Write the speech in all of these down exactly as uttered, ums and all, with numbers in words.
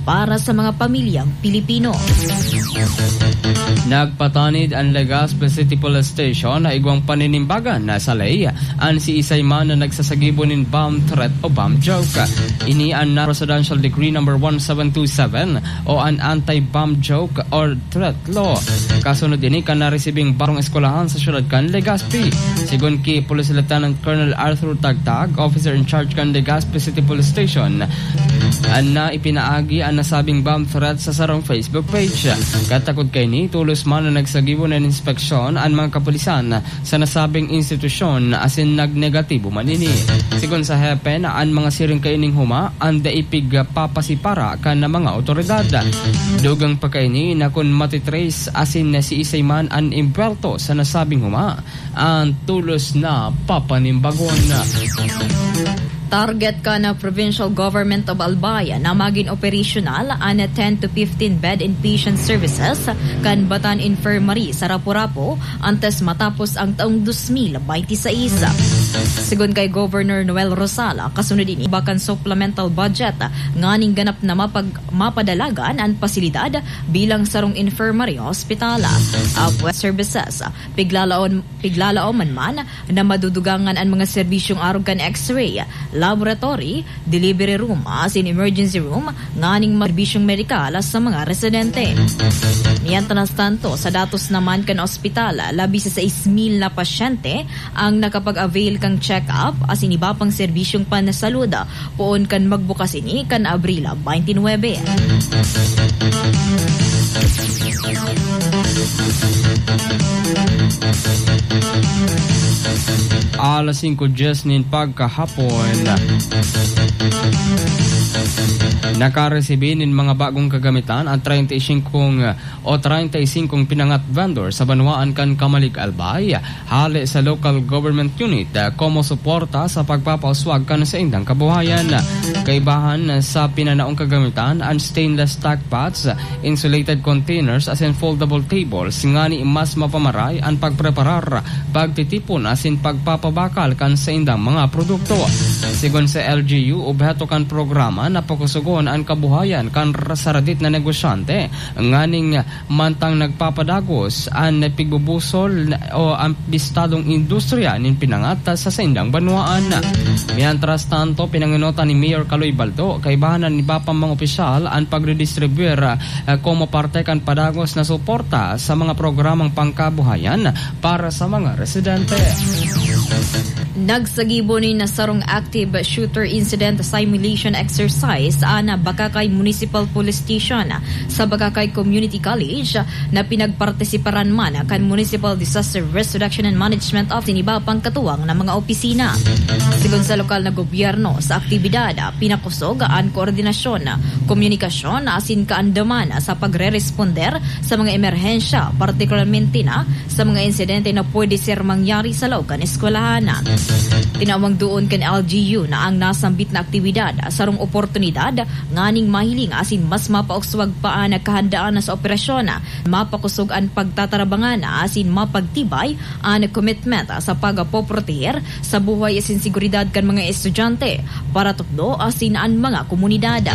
para sa mga pamilyang Pilipino. Nagpatanid an Legazpi City Police Station na igwang paninimbagan na sa ley an siisay man na nagsasagibo nin bomb threat o bomb joke. Ini an na Presidential Decree Number one seven two seven o an Anti-Bomb Joke or Threat Law. Kasunod ini kan naresibing barong eskwelahan sa siyudad kan Legazpi. Sigon ki Police Lieutenant Colonel Arthur Tagtag, officer in charge kan Legazpi City Police Station, an na ipinaagi an nasabing bomb threat sa sarong Facebook page. Katakod kaini, tolos man na nagsagibo nin inspeksyon an mga kapulisan sa nasabing institusyon asin nagnegatibo man ini. Sigon sa hepe na an mga siring kaining huma an dai pigpapasipara kan mga awtoridad. Dugang pa kaini na kun matitrace asin siisay man an impuwerto sa nasabing huma, an tolos na papanimbagon. Target kan Provincial Government of Albay na magin operasyonal an ten to fifteen bed inpatient services kan Batan Infirmary sa Rapu-Rapu antes matapos ang taong dos mil baynte sais. Sigon kay Governor Noel Rosal, kasunod ini iba kan supplemental budget nganing ganap na mapag-, mapadalagan an pasilidad bilang sarong infirmary hospital. Apwat services, piglalaon, piglalaoman man na madudugangan an mga serbisyong arog kan X-ray, laboratory, delivery room, asin emergency room, nganing mga serbisyong medikal sa mga residente. Mientras tanto, sa datos naman kan ospital, labi sa sais mil na pasyente ang nakapag-avail kan check-up asin iba pang serbisyong pansalud poon kan magbukas ini kan Abril twenty-nine. Alas singko dyes nin pagkahapon, nakaresibi nin mga bagong kagamitan ang treinta y cinco o treinta y cinco pinangat vendor sa banwaan kan Camalig, Albay, hale sa local government unit, ah, komo suporta sa pagpapauswag kan saindang kabuhayan. Kaibahan sa pinanaong kagamitan, an stainless stack pots, insulated containers, asin foldable tables, ngani mas mapamaray an pagpreparar, pagtitipon, asin pagpapabakal kan saindang mga produkto. Sigon sa L G U, obheto kan programa na pakusugon an kabuhayan kan saradit na negosyante, nganing mantang nagpapadagos an pigbubusol o an bistadong industriya nin pinangat sa saindang banwaan. Mientras tanto, pinangenotan ni Mayor Kaloy Baldo, kaibahan na ni Bapang mga opisyal an pagdidistribuir, ah, komo parte kan padagos na suporta sa mga programang pangkabuhayan para sa mga residente. Nagsagibo nin sarong active shooter incident simulation exercise an Bacacay Municipal Police Station sa Bacacay Community College na pinagpartisiparan man kan Municipal Disaster Risk Reduction and Management Office nin iba pang katuwang na mga opisina. Sigon sa lokal na gobyerno, sa aktibidad, pinakosog an koordinasyon, komunikasyon asin kaandaman sa pagre-responder sa mga emerhensya, partikularmente na sa mga insidente na pwede ser mangyari sa laog kan eskwelahan. Tinawang duon kan L G U na ang nasambit na aktibidad sarong oportunidad nganing mahiling asin mas mapauswag pa an kahandaan sa operasyon, mapakosog an pagtatarabangan asin mapagtibay an commitment sa pagpoproteher sa buhay asin seguridad kan mga estudyante, paratukdo asin an mga komunidad.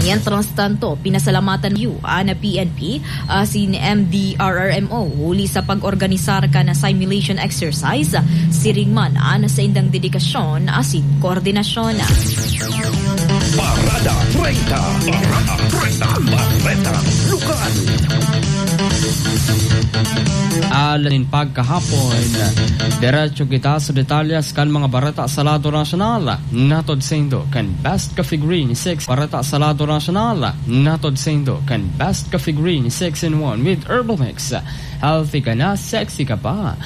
Mientras tanto, pinasalamatan yu an P N P asin M D R R M O huli sa pag-organisar kan simulation exercise, siring man an saindang dedikasyon asin koordinasyon. Parada treinta. Parada treinta. Bareta Lokal. Alas nin pagkahapon, diretso kita sa detalyes kan mga bareta sa lado nasyonal. Natod saindo kan Best Coffee Green six. Bareta sa lado nasyonal. Natod saindo kan Best Coffee Green six in one with Herbal Mix. Healthy ka na, sexy ka pa.